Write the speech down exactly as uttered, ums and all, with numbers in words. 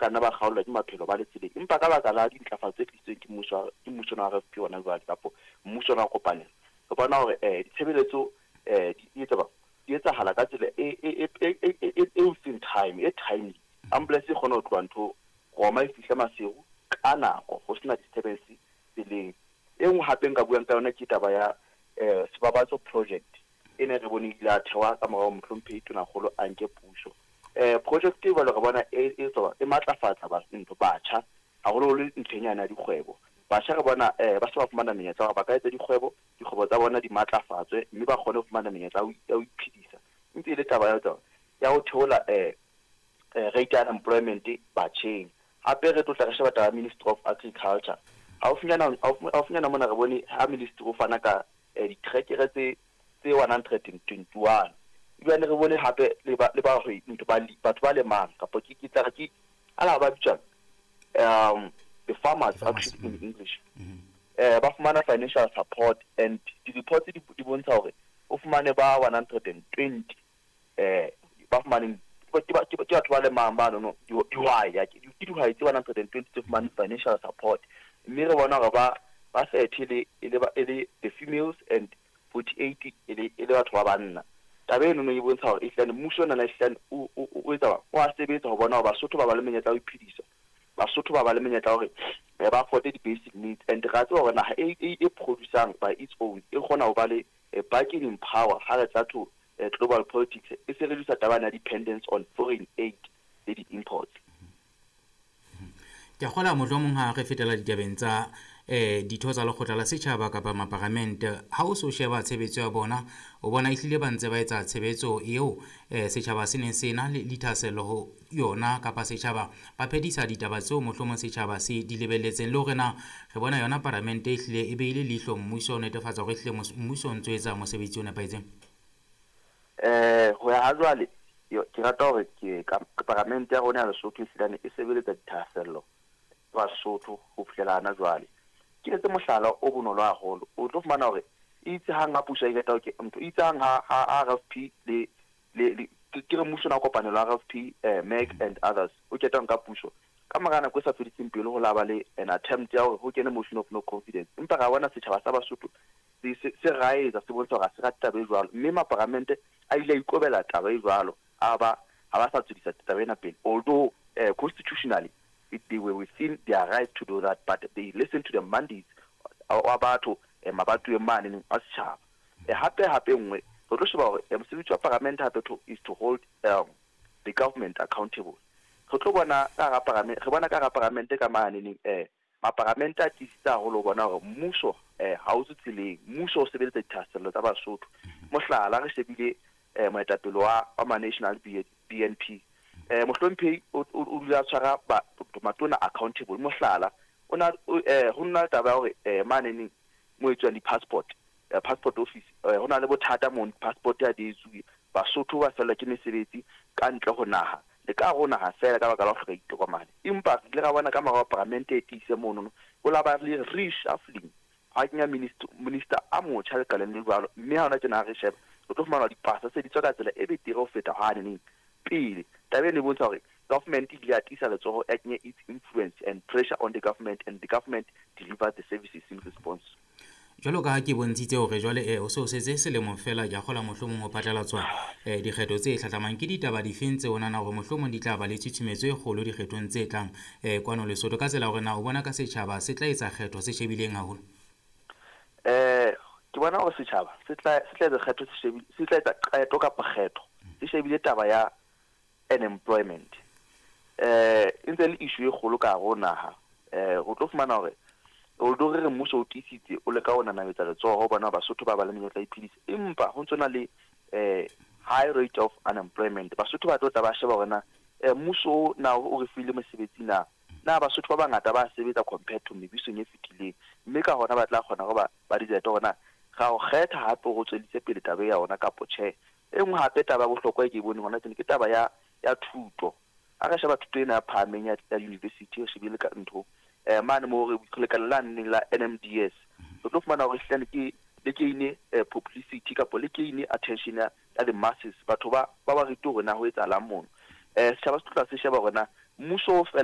ka nna ba kgaolwa ke maphelo ba le tseleng. Empa ka baka la dintlafatso tse tlisitsweng ke mmuso ke mmuso wa R F P hona jwale kapo mmuso wa kopanelo, re bona hore eh ditshebeletso eh di etsa di etsahala ka tsela e e e e e within time, e timely. Ambulance e kgona ho tloha ntho Roma e fihle Maseru ka nako, ho sena disturbance tseleng. E nngwe hape nka buang ka yona ke taba ya eh Sebabatso project e ne re bone ile a thewa ka morao mohlomphehi Tonakgolo a nke puso. Eh project e jwalo re bona e e tswa e matlafatsa ba ntho batjha haholoholo ntlheng yana ya dikgwebo. Batjha re bona eh ba se ba fumana menyetla hore ba ka etsa dikgwebo, dikgwebo tsa bona di matlafatswe mme ba kgone ho fumana menyetla ya ho iphedisa. Ntse e le taba ya tsona ya ho theola eh rate ya unemployment batjheng. Hape re tlo tla re sheba taba ya Ministry of Agriculture. Haufinyana haufinyana mona re bone ha ministry o fana ka ditrekere tse tse one hundred and twenty-one. Ebile re bone hape le ba le ba ntho ba batho ba lemang kapa ke ke tla re ke ala ba bitswang um the farmers actually in English. Eh ba fumana financial support and di reports di di bontsha hore o fumane ba one hundred and twenty eh ba fumaneng ke ba ke batho ba lemang ba no dihwai ya ke dihwai tse one hundred and twenty tse fumaneng financial support. Mme re bona hore ba ba thirty le e le e le the females and forty-eight e le e le batho ba banna. Taba eno e bontsha hore ehlane mmuso ona ehlane o o etsa o a sebetsa ho bona hore Basotho ba ba le menyetla ya ho iphedisa, Basotho ba ba le menyetla hore ba afford di basic needs. And ra tseba hore naha e e producing by its own e kgona ho ba le bargaining power ha re tla to global politics, e se reduce taba ya dependence on foreign aid le di imports. Ke kgola mohlomong ha re fetela ditabeng tsa eh ditho tsa lekgotla la setjhaba kapa maparamente, ha o so sheba tshebetso ya bona o bona ehlile ba ntse ba etsa tshebetso eo eh setjhaba se neng se na le dithahasello ho yona, kapa setjhaba ba phedisa ditaba tseo mohlomong setjhaba se di lebelletseng, le hore na re bona yona paramente ehlile e beile leihlo mmuso o netefatsa hore ehlile mmuso o ntso etsa mosebetsi o nepahetseng. Eh ho ya ha jwale ke rata hore ke paramente ya rona ya Lesotho ehlile e sebeletsa dithahasello Basotho ho fihlela hana jwale. Ke etse mohlala o bonolo haholo, o tlo fumana hore itse hang ha puso e qeta ho ke ntho itse hang ha ha R F P le le ke re mmuso na kopanelo R F P eh M E C and others o qeta nka puso ka mora nako e sa fediseng pelo ho laba le an attempt ya hore ho kene motion of no confidence. Empa ra bona setjhaba sa Basotho se se raetsa se bontsha hore ha se rate taba e jwalo, mme maparamente a ile a ikobela taba e jwalo, a ba ha ba sa tswedisa taba ena pele, although eh, constitutionally it, they were within their right to do that, but they listen to the mandates wa batho mabatoeng mane a setjhaba. Hape hape nngwe re tlo sheba hore mosebetsi wa paramente hape to is to hold um, the government accountable. Re tlo bona ka hara paramente, re bona ka hara paramente ka mane eh maparamente a tiisitse haholo ho bona hore mmuso eh ha o tswe tseleng, mmuso o sebeletsa dithahasello tsa Basotho. Mohlala re shebile eh moetapele wa wa National B N P eh mohlomphehi o dula tshwara matona accountable. Mohlala o na eh ho nna taba ya hore eh mane neng mo etswang di-passport passport office ho na le bothata mo passport ya di etsuwe, Basotho ba fellwa ke mesebetsi ka ntle ho naha le ka ho naha fela ka baka la ho hloka ditokomane. Empa re ile ra bona ka morao paramente e tiise monono ho la ba le reshuffling ha kenya minister minister a motjha lekaleng le jwalo, mme ha hona tjena re sheba o tlo fumana dipasa tse di tswa ka tsela e betere ho feta hane neng pele. Taba eno e bontsha hore government e ile ya tiisa letsoho ya kenya its influence and pressure on the government, and the government delivered the services in response. Jwalo ka ha ke bontshitse hore jwale eh o se o setse selemo fela ke a kgola mohlomong ho phatlalatswa eh dikgetho tse hlahlamang, ke ditaba difeng tse o nahana hore mohlomong di tla ba le tshusumetso e kgolo dikgethong tse tlang eh kwano Lesotho, ka tsela hore na o bona ka setjhaba se tla etsa kgetho se shebileng haholo? Eh ke bona hore setjhaba se tla se tla etsa kgetho se shebile, se tla etsa qeto kapa kgetho se shebile taba ya unemployment. Eh e ntse le issue e kgolo ka hare ho naha. Eh o tlo fumana hore although re mmuso o tiisitse o leka ho nanabetsa letsoho ho bona Basotho ba ba le menyetla ya iphedisa, empa ho ntso na le eh high rate of unemployment. Basotho ba tlo tla ba sheba hore na eh mmuso na o re file mosebetsi na na Basotho ba bangata ba sebetsa compared to mebusong e fetileng, mme ka hona ba tla kgona hore ba ba decide hore na ra o kgetha hape ho tswelise pele taba ya ona kapo tjhe. E nngwe hape taba ya bohlokwa e ke e boneng hona tjena ke taba ya ya thuto. Ha re sheba thuto ena ya phahameng ya ya university re shebile ka ntho eh mane mo re lekala la neng la N M D S, re tlo fumana hore ehlile ke le gain publicity kapo le gain attention ya the masses, batho ba ba ba rute hore na ho etsahalang mono. Eh setjhaba se tla se sheba hore na mmuso fela